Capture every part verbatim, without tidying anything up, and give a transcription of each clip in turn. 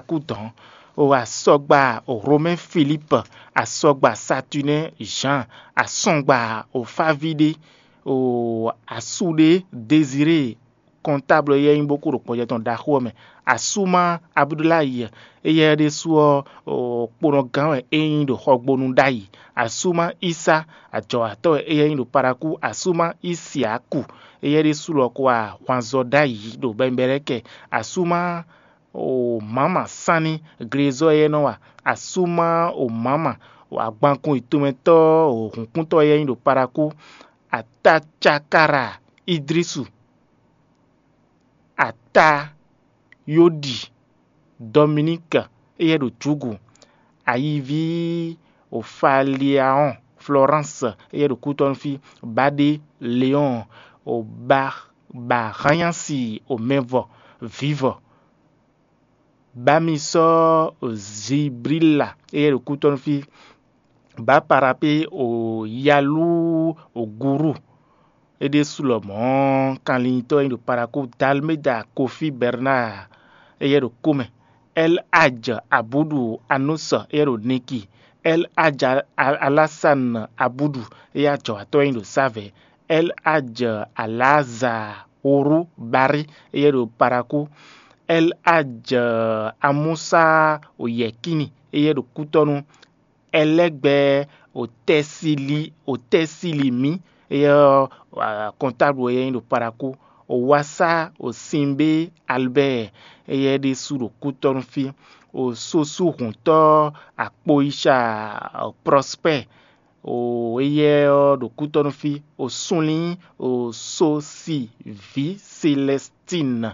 Akúdɔn, o asɔgba o Romɛ́ Filípu, asɔgba Satunɛ́ Zǎn, asɔgba o Fávíɖé, o asúɖé Dezirée, kɔntáblu éyɛ́ nyí bó kú ɖo gbɔjɛ tɔn ɖaxó ɔ́ mɛ. Asúma Abudulayi, éyɛ́ ɖésú ɔ́, kponɔgán wɛ é nyí ɖo xɔgbónu ɖ'ayǐ. Asúma Ísá, ajɔ̌watɔ́ wɛ éyɛ́ nyí ɖo Parakú. Asúma Ísiaku, éyɛ́ ɖésú lɔ ko wa ahwanzɔ ɖ'ayǐ ɖo Bɛnbɛlɛ́kɛ. Asúma o mǎma sánní glezɔ́ e nɔ wa asúma o mǎma, agbankun yětɔnmɛtɔ́ o hǔnkúntɔ́ e nyí ɖo Parakú, Atacakara Idrisu, Atayóɖi Dɔminíki, éyɛ́ ɖo Jǔgu, ayiví o Faliaɔ́n Floránsi, éyɛ́ ɖo Kútɔ́nú fí, Baɖé Leɔ́n, o Bahanyási o Mɛvɔ vǐvɔ, Bamisɔ Ziblila, éyɛ́ ɖo Kútɔ́nú fí, Baparapé o Yalú o Gurú, é ɖésú lɔmɔ̌ kanlintɔ́ e nyí ɖo Parakú, Dalméda Kofí Bɛrnáa, éyɛ́ ɖo kó mɛ, Ɛl Aj Abúɖu Anúsɔ, éyɛ́ ɖo Niki, Ɛl Aj Alásán Abúɖu, éyɛ́ ajɔ̌watɔ́ e nyí ɖo Sávɛ̌, Ɛl Aj Alázaa Horú Barí, éyɛ́ ɖo Parakú, Ɛl Aj Amúsá Oyɛkíni, éyɛ́ ɖo Kútɔ́nú, Ɛlɛ́gbɛ Otɛ́sílí Otɛ́sílímí, éyɛ́ ɔ́, kɔntáblu wɛ é nyí ɖo Parakú, Owasá Osinbé Albɛ́ɛ, éyɛ́ ɖésú ɖo Kútɔ́nú fí, Ososúhǔntɔ́ Akpoyica Prɔspɛ́ɛ, o éyɛ́ ɔ́ ɖo Kútɔ́nú fí, o súnlí, o Sosiví Selɛstín.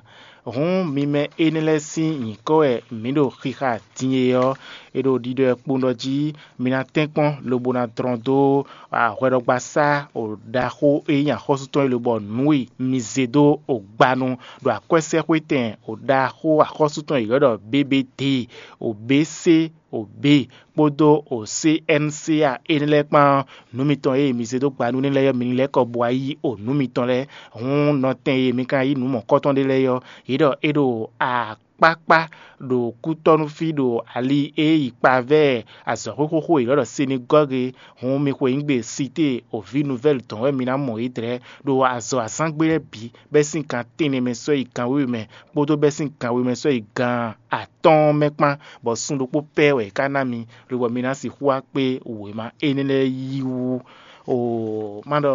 Hǔn mi mɛ énɛ́ lɛ́ɛ sín nyǐkɔ wɛ mǐ ɖo xixa din e ɔ́, è ɖo ɖiɖɔ ɛ kpowun ɖɔ jí mi ná tɛ́nkpɔ́n lobo ná dlɔ́n dó hwɛɖɔgbasá ɖaxó e nyí axɔ́sú tɔn é lobɔ nǔ e mi zé dó gbanu ɖo akwɛ́sɛ́xwétɛn ɖaxó axɔ́sú tɔn e ylɔ́ ɖɔ B B D, o B C, o B kpódó o C N C A énɛ́ lɛ́ɛ kpán ɔ́, nǔ mitɔn e mi zé dó gba nú énɛ́ lɛ́ɛ ɔ́, mi ní lɛ́ kɔ bo wá yí o nǔ mitɔn lɛ́ɛ. Hǔn nɔtɛn e mi ka yí nǔ mɔ̌kɔtɔn ɖé lɛ́ɛ ɔ́, yě ɖɔ é ɖo akpákpá ɖo kútɔ́ nú fí ɖo ali e yi kpavɛ́ azɔ̌xwé xóxó e ylɔ́ ɖɔ Senegɔ́ge. Hǔn mi xweyǐgbe Site o vǐ nuvɛ́li tɔn wɛ mi ná mɔ yě dlɛ̌ ɖo azɔ̌ azǎngbe lɛ́ɛ bǐ, bɛ́ sín gan tɛ́nnɛ mɛ sɔ́ yi gan wěwe mɛ, kpódó bɛ́ sín gan wěwe mɛ sɔ́ yi gan atɔ́ɔ́n mɛ kpán, bɔ sun ɖokpó pɛ́ wɛ é ká ná mi, lobɔ mi ná sixú wá kpé wěma énɛ́ lɛ́ɛ yí wú. O má ɖɔ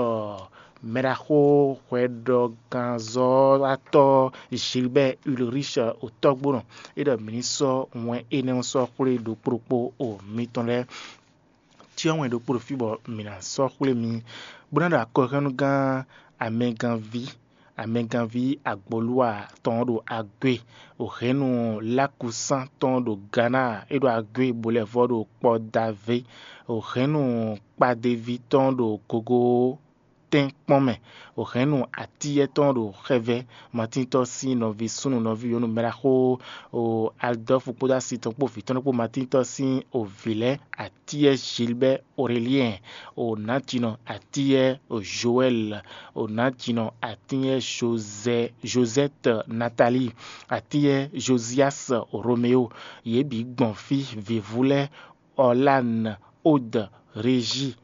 mɛɖaxó hwɛɖɔgánzɔ́watɔ́ Gilbert Ulrich o tɔ́gbónɔ, é ɖɔ mǐ ní sɔ́ wɛn énɛ́ ɔ́ sɔ́ xwlé ɖokpó ɖokpó o mitɔn lɛ́ɛ. Cyɔ́ wɛn ɖokpó ɖo fí bɔ mǐ ná sɔ́ xwlé mi, bó ná ɖo akɔhɛ́nnugán amɛganví amɛganví Agboluwa tɔn ɖo Agwe, o hɛ̌nnu Lakusán tɔn ɖo Gana, é ɖo Agwe bo lɛ́ vɔ́ ɖo kpɔ́ Davé, o hɛ̌nnu Kpadeví tɔn ɖo gogo tɛ́nkpɔ́n mɛ, o hɛ̌nnu Atíyɛ́ tɔn ɖo Xɛvɛ́, Matíntɔ́ sín nɔví súnnu nɔví nyɔ̌nu mɛɖaxó, o Aldɔ́fu kpódó asi tɔn kpó vǐ tɔn kpó Matíntɔ́ sín o vǐ lɛ́ɛ, Atíyɛ́ Gilbɛ́ Oreliɛn, o nǎjínɔ Atíyɛ́ o Joɛ́l, o nǎjínɔ Atíyɛ́ Jozɛ Jozɛ́t Natalíi, Atíyɛ́ Joziás Romeó, yě bǐ gbɔn fí, vǐvú lɛ́ɛ Ɔlán, Od, Rejis,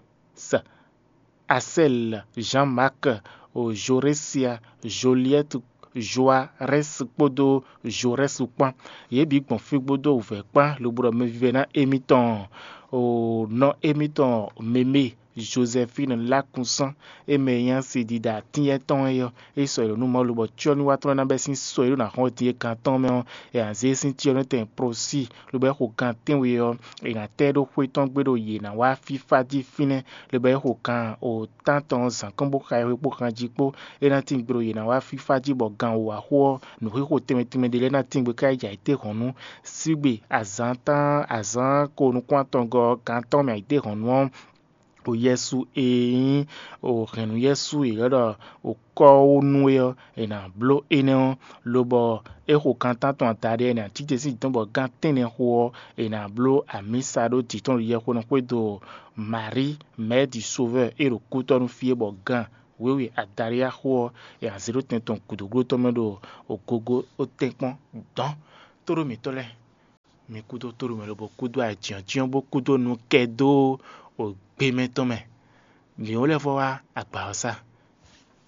Asɛl, Jean-Marc, o Jorésia, Joliɛ́t, Joarɛ́s kpódó Jorɛ́su kpán. Yě bǐ gbɔn fí kpódó wǔvɛ́ kpán lobo ɖɔ mɛvívɛ́ná émítɔn, o nɔ émítɔn Meme Jozɛfín Lákunsán, é mɛ e nyí asi ɖiɖa atínyɛ́ tɔn é ɔ́, é sɔ yi ɖo nú Mawu lobo cyɔ́núwatɔ́ lɛ́ɛ ná bɛ́ sín sɔ e ɖó ná xɔ́n din é gan tɔn mɛ ɔ́, è nǎ zé sín cyɔ́nú tɛn prosí, lobo é xo gan tɛ́nwe ɔ́, è nǎ tɛ́ ɖó xwé tɔn gbe ɖo yě ná wá fífá jí fínɛ́, lobo é xo gan o tán tɔn zǎn kɔn bó xa ɛ xwe kpó xan jí kpó. É ná tín gbe ɖo yě ná wá fífá jí bɔ gan wǒ wá xo ɔ́, nǔxixo tɛnmɛ tɛnmɛ ɖé lɛ́ɛ ná tín gbe káyi jɛ ayǐtéhɔ̌nnu. Sígbe azǎn tán azǎn ko nukún atɔngɔ́ gan tɔn mɛ ayǐtéhɔ̌nnu ɔ́, o Yɛsu e nyí o hɛ̌nnu Yɛsu e ylɔ́ ɖɔ o kɔ́wónú é ɔ́, è nǎ bló énɛ́ ɔ́, lobɔ é xo gan tántɔn adaɖé ɔ́, è nǎ cí te sín dɔ̌n bɔ gan tɛ́nnɛ xo ɔ́, è nǎ bló amǐsa ɖó jǐ tɔn ɖo yɛxwenu xwédo Marie, Mère du Sauveur, e ɖo kútɔ́ nú fí é bɔ gan wěwe adaɖé axo ɔ́, è nǎ zé ɖó tɛn tɔn gǔdo gló tɔn mɛ ɖo ogogo ó tɛ́nkpɔ́n dɔ̌n. Tóɖó mǐtɔn lɛ́ɛ, mi kúdó tóɖu mɛ lobo kúdó ayǐjínjɔ́n bó kúdó nukɛ dó ògbé mɛ tɔn mɛ. Mǐ ó lɛ́ vɔ wá agba ɔ́ sá.